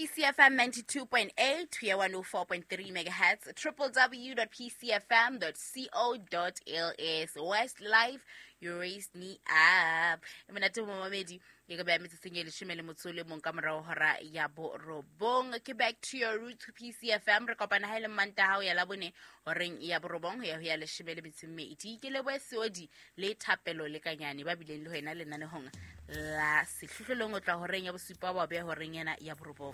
PCFM 92.8 ho ya 104.3 megahertz, www.pcfm.co.ls. West Life, you raised me up. E monate momamedi, ke ka beha metsotsong e 19 ka morao hora ya 9. Ke back to your roots PCFM. Re kopana ha e le Mantaha ho ya Labone horeng ya 9 ho ya ho ya 12. Ke lebohe Seodi le Thapelo le Kanyane ba bileng le wena lenanehong la sehlohlolong o tla horeng ya 7 ba beha horeng ena ya 9.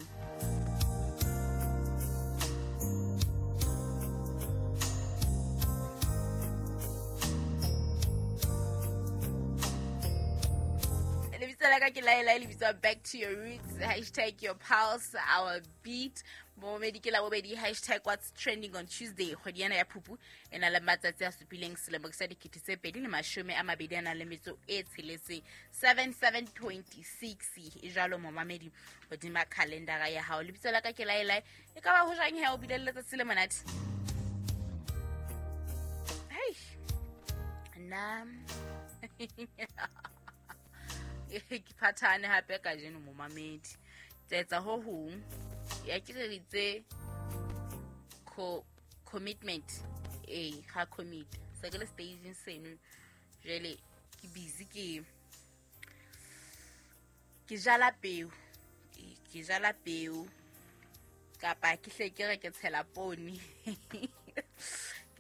Lebitso la ka ke Laela, le bitswa Back to Your Roots, hashtag your pulse, our beat. Momedi ke la bobedi, hashtag what's trending on Tuesday. Kgwedi ena ya Phupu e na le matsatsi a supileng selemo sa 2026, 7726 e jwalo momamedi hodima calendar ya hao. Lebitso la ka ke Laela, e ka ba ho jwang he o bile le letsatsi le monate? Hey, nna ke phathane hape kajeno momamedi. Tsetsa ho hong ya ke re itse commitment e ga commit se ke le staging seno jele ke busy ke jala peo, ke jala peo kapa ke hle ke re ke tshela pone ke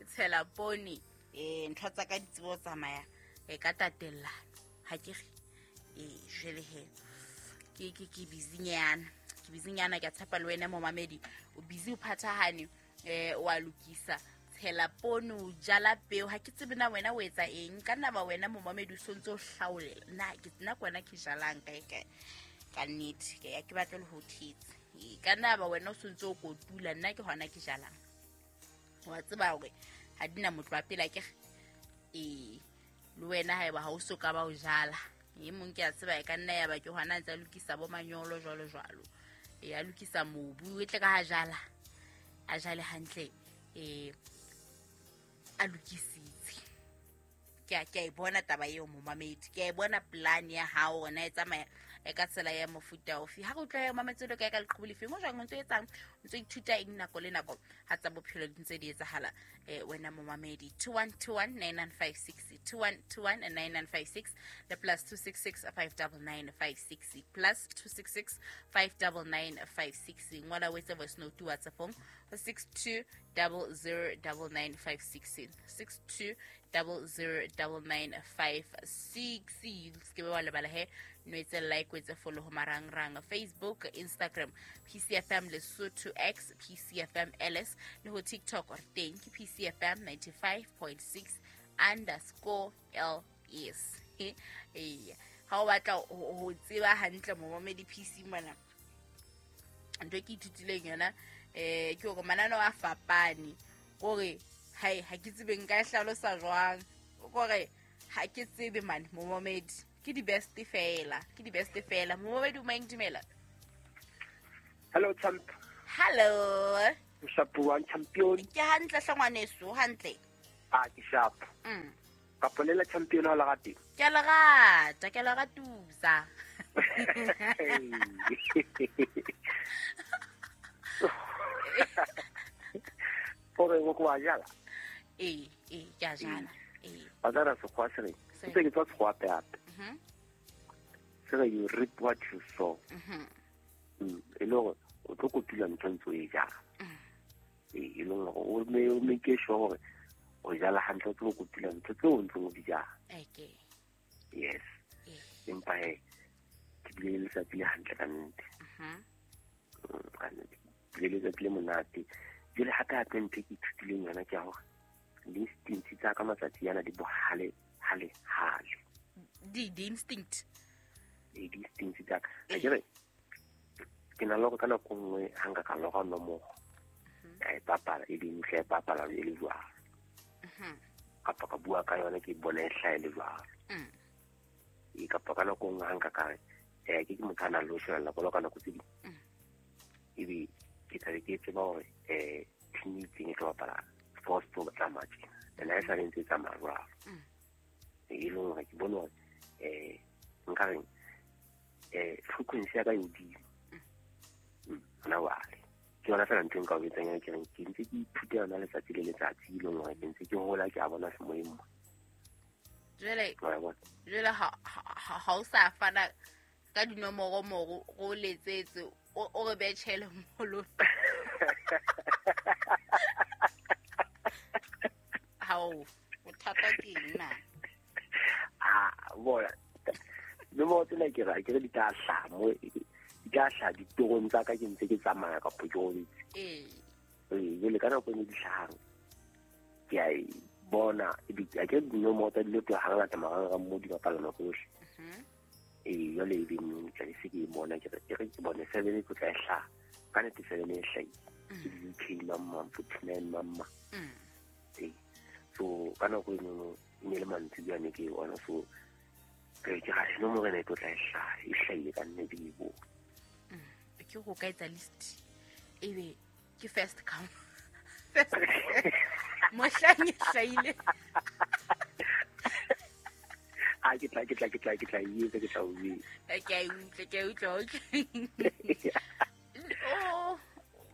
tshela pone ntho tsa ka di tsebo tsamaya e ka tatellano ha ke re jele he ke busy nyana, ke busy nyana. Ke tshepa le wena momamedi o busy o phathahane, wa lokisa tshela poone, o jala peo. Ha ke tsebe na wena o etsa eng, ka nna ba wena momamedi o sontse o hlaolela na ke nna kwena ke jalang kae kae ka nnete ke ya ke batle le ho thetsa. Ka nna ba wena o sontse o kotula, nna ke hona ke jalang. Wa tseba hore ha dina motho wa pela ke le wena haeba ha o so ka ba o jala e mong ke a tseba e ka nna ya ba ke hona ntse a lokisa bo manyolo jwalo jwalo, a lokisa mobu e tle ka ha jala a jale hantle, a lokisitse. Ke a e bona taba eo momamedi, ke a e bona plan ya hao ona e tsamaya e ka tsela ya mofuta ofe. Ha re utlwa ya mametse le kae ka leqhubu lefeng o jwang o ntso etsang, o ntso ithuta eng nako le nako ha tsa bophelo di ntse di etsahala wena momamedi. 21219956, 21219956 le +266 59956, +266 59956. Ngola o etse voice note WhatsApp-ong 62009956, 62009956. Se ke wa lebala he no etse like, o etse follow ho marangrang Facebook, Instagram PCFM Lesotho X, PCFM LS le ho TikTok re teng ke PCFM 95.6 underscore LS. Ha o batla ho tseba hantle momamedi PC mona, ntho e ke ithutileng yona ke hore mananeo a fapane, kore hai ha ke tsebe nka e hlalosa jwang, kore ha ke tsebe mane momamedi ke di best fela, ke di best fela. Momamedi o mang, dumela. Hello champ. Hello. Sharp one champion. Ke hantle hle ngwaneso, hantle. Ah ke sharp. Ka polela champion ha la rate. Ke la rata, ke la ratusa. Ore go kwa jala. Ke a jala. Ba tsara sekgwa se re. Se ke tswa sekgwa hape. Se re you reap what you sow. E le hore o tlo kotula ntho ntse o e jala. E le hore o make sure hore o jala hantle, o tlo kotula ntho tseo o ntseng o di jala. Okay. Yes. Empa he ke bile le letsatsi le hantle ka nnete. Ka nnete. Bile letsatsi le monate. Jwale hape hape ntho e ke ithutileng yona ke ya hore di-instincts tsa ka matsatsi ana di bohale hale hale. Di-instinct. Di-instincts tsa ka. Ha ke re ke na le hore ka nako nngwe ha nka ka lora nomoro ka e bapala, e be ntle e bapala e le jwalo. Kapa ka bua ka yona ke bona e hlaha e le jwalo. Kapa ka nako nngwe ha nka ka re ke motho a nang le ho shebella bolo ka nako tse ding. Ebe ke tlabe ke tseba hore team e itseng e tlo bapala sports tlo tsamaya tjena. And ha e sale ntse e tsamaya jwalo. E leng hore ke bone hore nka reng frequency ya ka e hodimo. Hona jwale ke yona fela ntho e nka o jwetsang yona, ke reng ke ntse ke ithuta yona letsatsi le letsatsi, e leng hore ke ntse ke hola, ke a bona semoyeng mo. Jwale Wa e bona? Jwale ha o sa fana ka dinomoro mo ro letsetse, o re betjhele molo. Hao, bothata ke eng na? Ah, bona. Nomoro tsena ke re, ke re di tla hlaha mo, di tla hlaha ditorong tsa ka, ke ntse ke tsamaya kapa ke robetse. Ee. Ee, jwale ka nako e di hlahang, ke a e bona, a ke re dinomoro tsa dilo tloha hangata marangrang mo di bapala nako yohle. Ee, jwale e be neng tla se ke e bona, ke re, e re ke bone 7 e tlo tla e hlaha. Ka nnete 7 e hlahile. Ke di-U K mang mang, 49 mang mang. Ee. So, ka nako e nngwe, e ne le mantsibuya ne ke e bona, so, ke re, ke ra nomoro ena e tlo tla e hlaha, e hlahile ka nnete ke e bone. Ke go ka etsa list, ebe ke first come. First mohlang e hlahile. Ah, ke tla, ke tla, ke tla, ke tla e etsa, ke tla o etsa. Ke a e utlwa, ke a e utlwa, okay. Oh,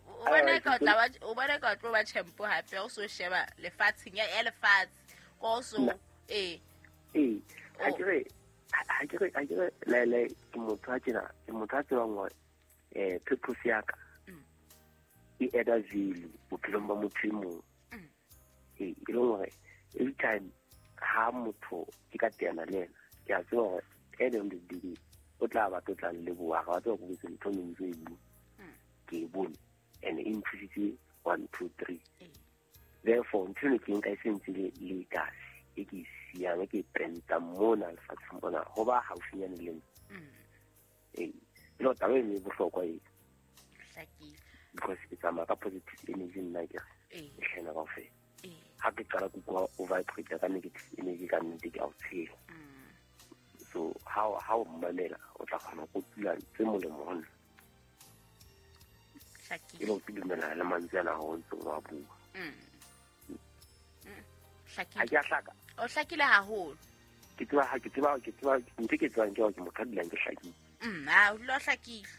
o bona ka o tla ba, o bona ka o tlo ba champ hape, o so sheba lefatsheng, ya lefatshe. Ko so, Nna. ee. Ee, ha Oh. ke re, ha ke re, ha ke re, le, le, ke motho a tjena, ke motho a tsebang hore, purpose ya ka e add-a value bophelong ba motho e mong. Ee, e leng hore every time ha motho ke ka teana le yena, ke a tseba hore at the end of the day o tla batla o tla nleboha, ga wa tseba hore ke ntho e ntse e bua. Ke e bone and e nthusitse 1 2 3. Therefore ntho eno ke nka e sentse le legacy e ke e siyang, e ke e pentang mona lefatsheng mona, ho ba haufinyane le nna. Ee, e le hore taba eno e bohlokwa e. Hlakile. Because ke tsamaya ka positive energy nna ke re, Ee. e hlena kaofela. Ee. Ha ke qala ke utlwa o vibrate ka negative energy ka nnete ke a o tshela. So ha o mmamela, o tla kgona ho kotula tse molemo ho nna. Hlakile. E le hore ke dumellana le mantswe ana ha o ntse o a bua. Hlakile. Ha ke a hlaka. O hlakile haholo. Ke tseba, ha ke tseba, ke tseba, ntho e ke tsebang ke hore ke motho a dulang ke hlakile. Ha, o dula o hlakile.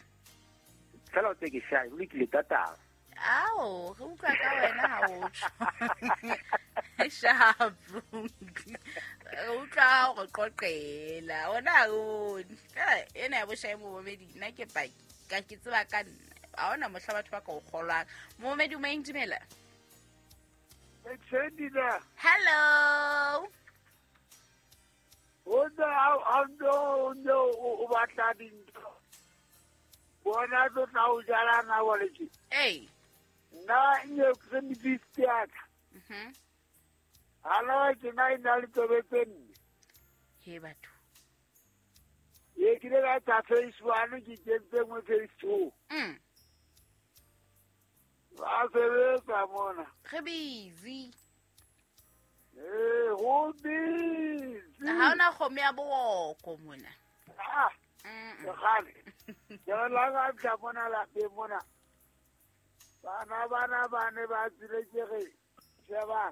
Fela o tse ke shy, o lokile tata. Ao, re utlwa ka wena ha o tjho. Sharp. Re utlwa ha o re qoqela. Ona ha o. Fela ena ya boshae momamedi, nna ke paki. Ka ke tseba ka nna. Ha hona mohla batho ba ka o kgolwang. Momamedi o moyeng, dumela. Extended. Hello. O ne a no no o batla dintho. Bona tlo tla o jala na wa le tje. Ei. Nna nye ke se medisi ya ka. Hala ke na ina le tsebe tse nne. He batho. Ye ke le ka tsa phase 1 ke kentse nngwe phase 2. Ba sebetsa mona. Re busy. Eh, ho busy. Ha ona kgomo ya boroko mona. Ah. Kgale. Ke re la ka tla mona lapeng mona. Bana bana ba ne ba tsile ke re sheba.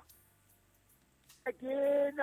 Ke na